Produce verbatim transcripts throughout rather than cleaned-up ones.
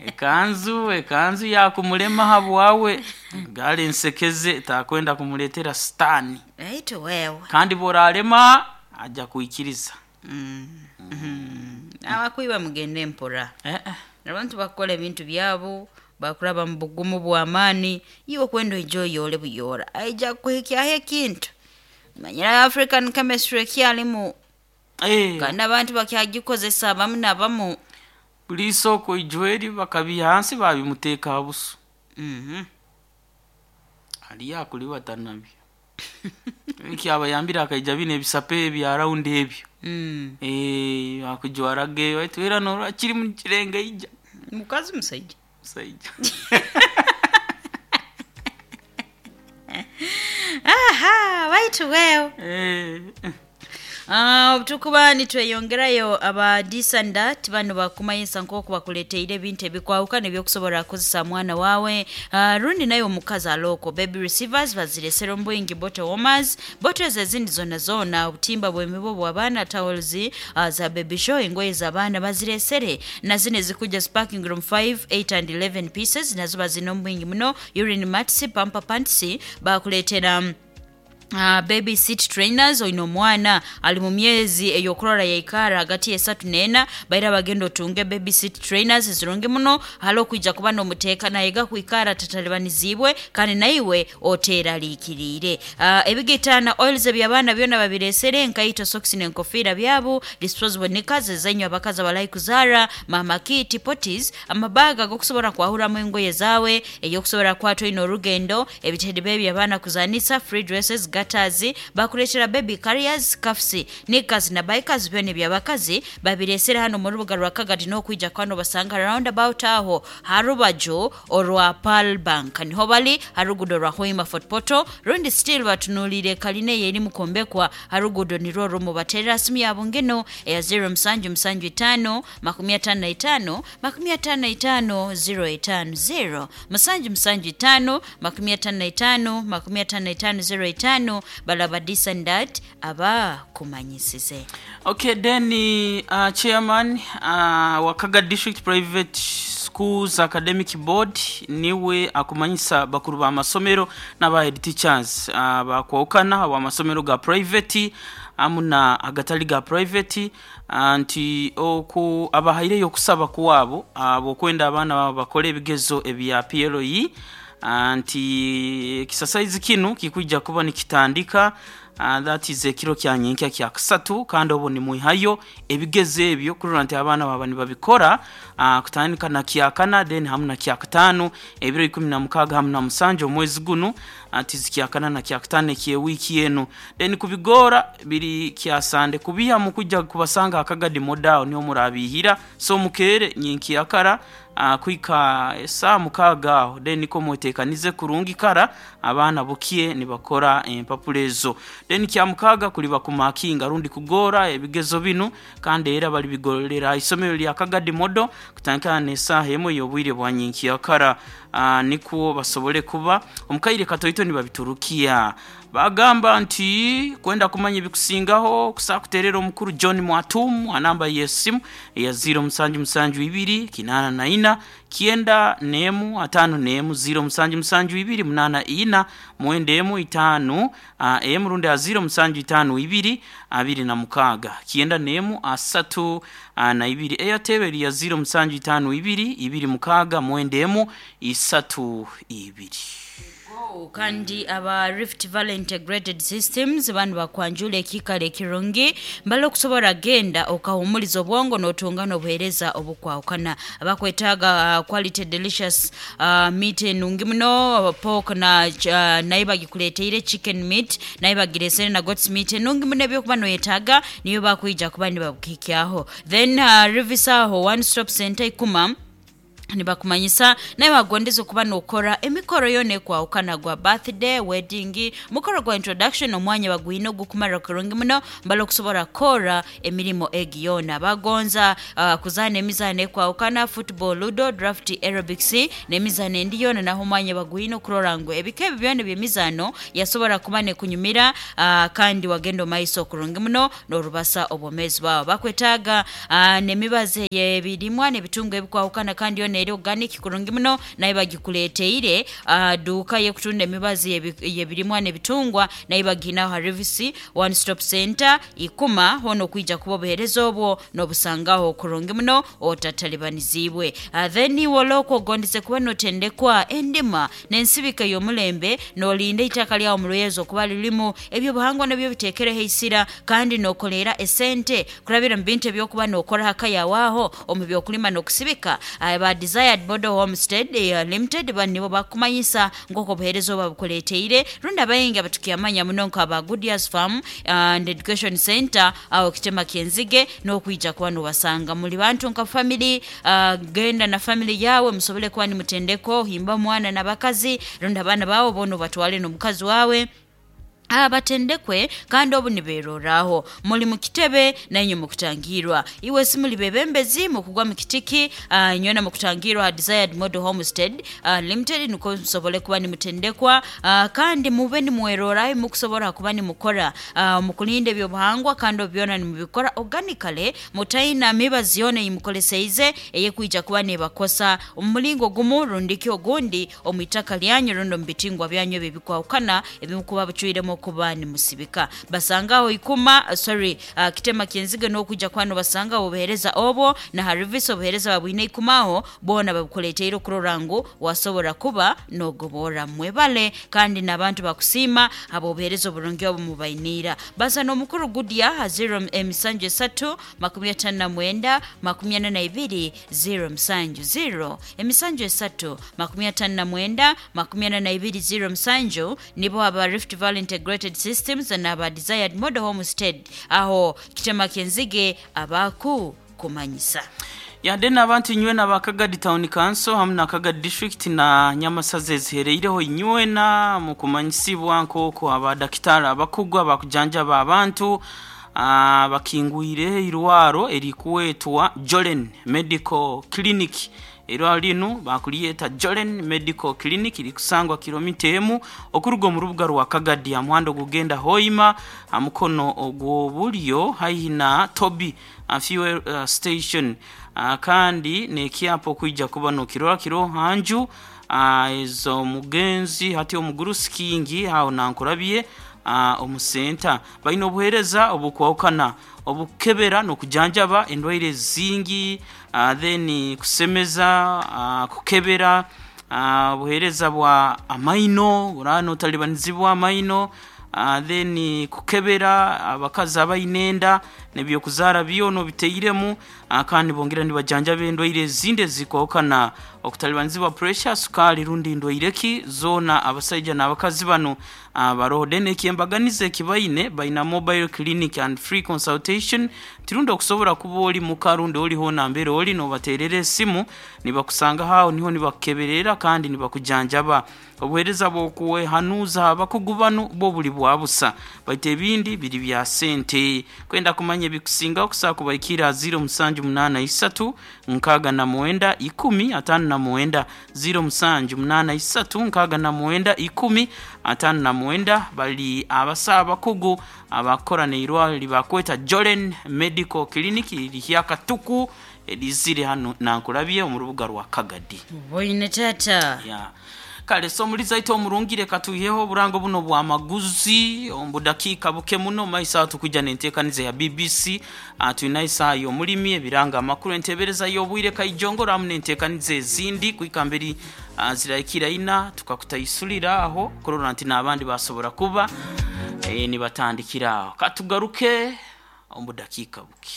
Ekanzu ekanzu yakumulema habwawe gale nsekeze takwenda kumuletera sitani. Aitu wewe. Kandi boralema ajja kuikiriza. Mm. Mm. Abakwiba mugende mpora. Eh, eh. Abantu bakora ebintu byabo bakuraba mu bugumu bw'amaani, iwe kwenda oije oyore buyora aija kuhikyaho ekintu. Manyira African chemistry ekyalimu. Eh, kandi abantu bakyagikozesa abamu nabamu. Buli isoko ijweri bakabiha hansi babimuteeka ha buso. Mhm. Aliyo akulibata nabyo ekyabayambire akaija bino ebisape ebya raundi ebyo. Mm. Eh, akujwarage waitu era norora kiri mu kirenga ija. Mukazi musaija. Musaija. Aha, waitu wewe. Eh. Ah, tukuba nitweyongerayo aba disandat bano bakumayisa nk'oku bakuleteire ebintu ebikwawukana ebyokusobola kukozesa mwana wawe. Uh, rundi naye omukazi aloko baby receivers baziresera omubwingi, bottle warmers, bottles ezindi zona zona, obutimba bw'emibo bw'abaana, towels uh, za baby show, engoye z'abaana baziresere, na zino ezikuja sparking room five, eight and eleven pieces nazo bazina omubwingi muno. Urine mats, pamper pants bakuleetera. mm, Uh, baby seat trainers, oina omwana ali mu myezi ey'okurora yaikara hagati y'esatu n'ena, baira bagenda otunge baby seat trainers zirungi muno hali okwija kuba n'omuteeka nayega kwikara tatalibanizibwe kandi naiwe oteeraliikiriire. uh, ebigaitana oils eby'abaana byona babiresere, enkaito, socks n'enkofiira byabu, disposable knickers ezenywa abakazi abalai kuzaara, mama kit, potties, amabaga ag'okusobola kwahuramu engoye zaawe ey'okusobola kwata oina orugendo, ebitedi bebi abaana kuzanisa, free dresses, gutters, bakuleetera baby carriers, cuffs, knickers na bikers byona ebyabakazi babiresere hano mu rubuga rwa Kagadi n'okwija kwano basanga roundabout aho harubaju orwa Pearl Bank niho bali harugudo rwa Hoima Fort Portal, rundi still batunulire kaline yeri mukombekwa harugudo nirwo rumu. Baterera simu yabo ngeno eya zero musanju musanju itano makumi atano na itano makumi atano na itano zero itano zero musanju musanju itano makumi atano na itano makumi atano na itano zero itano. Balaba disandat aba kumanyisize. Okay, then uh, chairman uh, wa Kaga District Private Schools Academic Board niwe akumanyisa bakuru ba masomero n'aba head teachers uh, bakwawukana aba masomero ga private amu na agatali ga private uh, nti oku abahaireyo okusaba kuwaabo abokwenda abaana baabo bakole ebigezo ebya P L E, uh, nti ekisasaizi kinu kikwijja kuba nikitandika uh, that is ekiro kya nyenkya kya kasatu, kandi obo nimwihayo ebigezo ebyo kurora nti abaana baba nibabikora uh, kutandika na kyakana, then hamu na kyakataano, ebiro ikumi na mukaaga hamu na musanju omwezi gunu, ati zikyakana na kyakataano ekyewiiki eno. Then kubigora biri kyasande kubiha mukujja kubasanga akagadi modao niho murabihira, so mukere nyenkyakara uh, kwika esaa mukaaga aho, then niko mwetekanize kurungi kara abaana bukie nibakora empapula ezo. Then kya mukaaga kuliba kumakinga rundi kugora ebigezo binu, kandi era balibigolera isomero lya Kagadi Model kutandikana n'esaaha emwe y'obwire bwa nyenkyakara, uh, nikwo basobole kuba omukaire katoito nibabiturukia. Bagamba nti kwenda kumanya ebikusingaho kusaa kuterera omukuru John Mwatumu anamba y'esimu eya zero musanju musanju ibiri kinana na ina kienda nemu atano nemu, zero musanju musanju ibiri munana ina mwenda emu itano uh, emu, rundi a zero musanju itano ibiri abiri na mukaga kienda nemu asatu uh, na ibiri. Airtel ya zero musanju itano ibiri ibiri mukaga mwenda emu isatu ibiri. Oh, kandi aba Rift Valley Integrated Systems banu bakwanjula ekikalo ekirungi mbala okusobola genda okahumuliza obwongo n'otunga n'obuheereza obukwawukana. Abakwetaaga uh, quality delicious uh, meat enungi muno, pork na uh, naye bagikuleteire chicken meat, naye bagiresere na goats meat enungi muno, ebyokuba noyetaaga niyo bakwija kuba nibabukikyaho. Then uh, Rivisaho One Stop Center ikuma Nibakumanyisa naye wagondeza okuba nokora emikoro yona ekwahukana, gwa birthday, wedding, mukoro gwa introduction, omwanya bagwine ogukumara kurungi muno mbala okusobora kukora emirimo egi yona. Bagonza uh, kuzaana emizaano ekwahukana, football, ludo, draft, aerobics n'emizaano endi yona, naho omwanya bagwine okurora ngu ebika ebi byona eby'emizaano yasobora kuba nekunyumira, uh, kandi wagenda omaiso kurungi muno n'orubasa obwomezi bwawe. Bakwetaaga uh, n'emibazi y'ebirimwa n'ebitungo ebikwahukana, kandi yona eri organic kurungi muno, naye bagikuleteire. uh, duuka yekutunda emibazi y'ebirimwa n'ebitungwa naye baginaho ha Rivisi One Stop Center Ikuma, hono okwija kuba obuhereza obwo n'obusangaho kurungi muno otatalibanizibwe. uh, then iwe olokwo ogondeze kuba notendekwa endima n'ensibika y'omulembe, nolinda itaka lyawo mu lwezo okuba lirimu ebyobuhangwa nabyo bitekereho eisira, kandi nokolera esente kurabira mu bintu ebyokuba nokora haka yawaho omu byokulima n'okusibika. uh, ba Desired Model Homestead uh, Limited banibo bakumanyisa nk'oku obuheereza oba bukuleteire, rundi abayingi abatukyamanya muno nk'aba Goodyears Farm and Education Center aho Kitema Kyenzige, n'okwija kuba nobasanga muli bantu nka family. uh, genda na family yawe musobole kuba nimutendeko himba mwana n'abakazi rundi abaana bawe boona obatwale n'omukazi wawe abatendekwe, kandi obu niberoraho muli mukitebe nainywe mukutangirwa. Iwe si muli bebembezi mukugwa mukitiki, uh, nywena mukutangirwa Desired Model Homestead uh, Limited, nuko musobole kuba nimutendekwa, uh, kandi mube nimweroraho mukusobora kuba nimukora uh, mukulinda ebyobuhangwa, kandi obyona nimubikora organically, mutaina mibazi yona eyimukoleseize eyekwija kuba nebakosa omu mulingo gumu rundiki ogundi omu itaka lyanyu rundi omu bitingwa byanyu ebyo ebikwahukana ebimukuba bucwiremu kuba nimusibika. Basangaho Ikuma, uh, sorry, uh, Kitema Kyenzige, n'okwija kwano basanga obuhereza obwo na harivisi obuhereza babwine ikumaho bona babukuleteire okurora ngu wasobora kuba nogobora mwebale, kandi n'abantu bakusiima abo obuhereza oburungi obu mubainiira. Basa n'omukuru Gudia ha zero emisanju esatu makumi atano na mwenda makumi ana na ibiri zero musanju, zero emisanju esatu makumi atano na mwenda makumi ana na ibiri zero musanju, nibo aba Rift Valley Integrated Systems na aba Desired Model Homestead aho Kitema Kyenzige abaku kumanyisa. Yade n'abantu inywena ba Kagadi Town Council hamwe na Kagadi District na Nyamasazi ezihereireho, inywena mukumanyisibwa nk'oku abadakitari abakugu abakujanjaba abantu ah, bakingwire irwaro erikuwetwa Jolen Medical Clinic. Irwaro linu bakuliyeta Jolen Medical Clinic, likusangwa kilomita emu okuruga omu rubuga rwa Kagadi amuhanda ogugenda Hoima amukono ogw'obulyo haihi na Toby uh, fuel uh, station. uh, kandi nekyapa okwija kuba nokirora kiro hanju uh, ezo mugenzi hati omugurusi kingi aho nankurabye uh, omusenta. Balina obuhereza obukwahukana, obukebera n'okujanjaba endwaire zingi, uh, then kusemeza, uh, kukebera, uh, obuhereza bwa amaino burano otalibanizibwa amaino, uh, then kukebera abakazi abaine enda n'ebyokuzaara byona obiteiremu, uh, kandi bongera nibajanjaba endwaire ezindi ezikwahukana, okutalibanizibwa pressure, sukali rundi ndwaire ki zoona. Abasaija n'abakazi bano uh, baroho. Then ekyembaganiza ekibaine, baina mobile clinic and free consultation, tirundi okusobora kuba oli muka rundi oliho nambere oli nobaterera esimu nibakusanga haho niho nibakukeberera kandi nibakujanjaba. Obuhereza bw'okuwehanuza abakugu bano bwo buli bwa busa, baitu ebindi biri bya sente. Kwenda kumanya ebikusingaho kusaa kubaikira zero musanju munana isatu nkaaga na mwenda ikumi atano na mwenda, zero musanju munana isatu nkaaga na mwenda ikumi atano na mwenda. Bali abasawo abakugu abakora neirwaro libakweta Jolen Medical Clinic lihyakatuku erizire hano nankurabye omu rubuga rwa Kagadi. Boine tata. Ya kale, so muliza ito omurungire katuiheho oburango buno bwa maguzi omu budakiika buke muno maiso aho tukwija n'enteekaniza ya B B C. uh, tulina isaaha y'omulimi, ebiranga amakuru, entebereza y'obwire kaijongoro hamu n'enteekaniza ezindi kwika mberi uh, zirahikira ina tukakutaisulira aho kurora nti n'abandi basobora kuba e, nibatandikira aho. Katugaruke omu budakiika buke.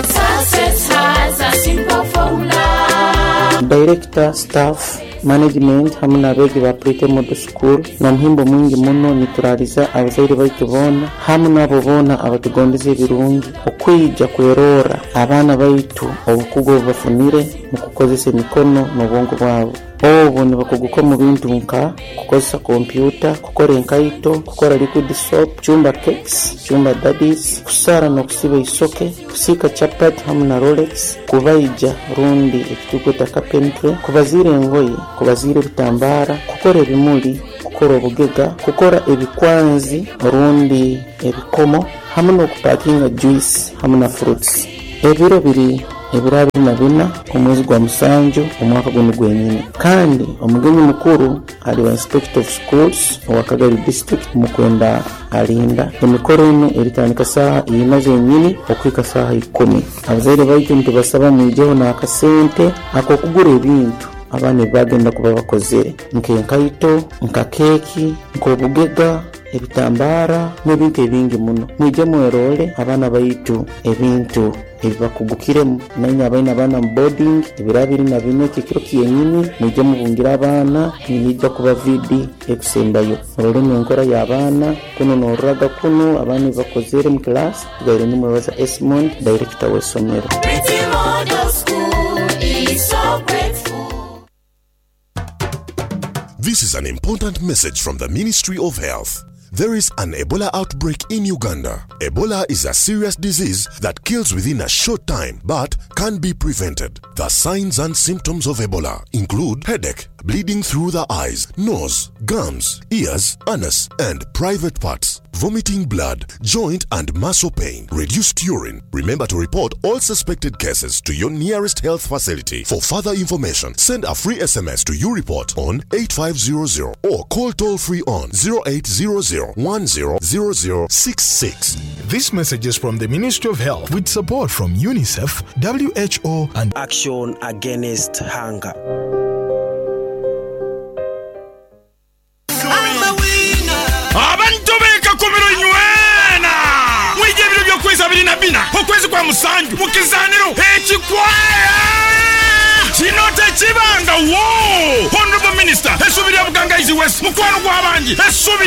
Success has a simple formula. Director, staff, Management hamu n'abeegi ba Pretty Model School n'omuhimbo mwingi muno nituraliza abazaire baitu boona hamu n'abo boona abatugondeza ebirungi okwija kwerorra abaana baitu obukugu obu bafunire mu kukozesa emikono n'obwongo bwabo. Obu nibakuguka omu bintu nka kukozesa kompyuta, kukora enkaito, kukora liquid soap, kucumba cakes, kucumba daddies, kusara n'okusiba isoke, kusiika chapati hamu na rolex, kubaija rundi ekitukweta carpentry, kubaziira engoye, kubaziira ebitambara, kukora ebimuli, kukora obugega, kukora ebikwanzi rundi ebikomo hamu n'okupakinga juice hamu na fruits. Ebiro biri ebiro abiri na bina omwezi gwa musanju omwaka gunu gwenyini, kandi omugenyi mukuru aliba Inspector of Schools owa Kagadi District Mukwenda Alinda. Emikoro enu eritandika saaha ina zenyini okuhika saaha ikumi. Abazaire baitu nitubasaba mwijeho n'akasente ak'okugura ebintu abaana ebibagenda kuba bakozere nk'enkaito, nka keeki, nk'obugega, ebitambara n'ebintu ebingi muno. Mwije mwerole abaana baitu ebintu ebibakugukiremu. Nainywe abaine abaana mu boarding ebiro abiri na bina ekyo ekiro kyenyini mwije mubungire abaana, niija kuba V D ekusembayo. Murolemu enkora y'abaana kunu n'oruraga kunu abaana ebibakozere mu class. Tugaire nimwebaza Esmond, director w'essomero. Pretty Model School is so grateful. This is an important message from the Ministry of Health. There is an Ebola outbreak in Uganda. Ebola is a serious disease that kills within a short time but can be prevented. The signs and symptoms of Ebola include headache, bleeding through the eyes, nose, gums, ears, anus, and private parts, vomiting blood, joint and muscle pain, reduced urine. Remember to report all suspected cases to your nearest health facility. For further information, send a free S M S to U-Report on eight five zero zero or call toll free on zero eight zero zero one zero zero zero six six. This message is from the Ministry of Health with support from UNICEF, W H O, and Action Against Hunger. Abantu bekakumiro inywena mwije ebiro by'okwezi abiri na bina okwezi kwa musanju mu kizaniro ekikwaya kino tekibanga wo. Honorable Minister essuubi lya Bugangaizi West, mukwano gw'abangi, essuubi.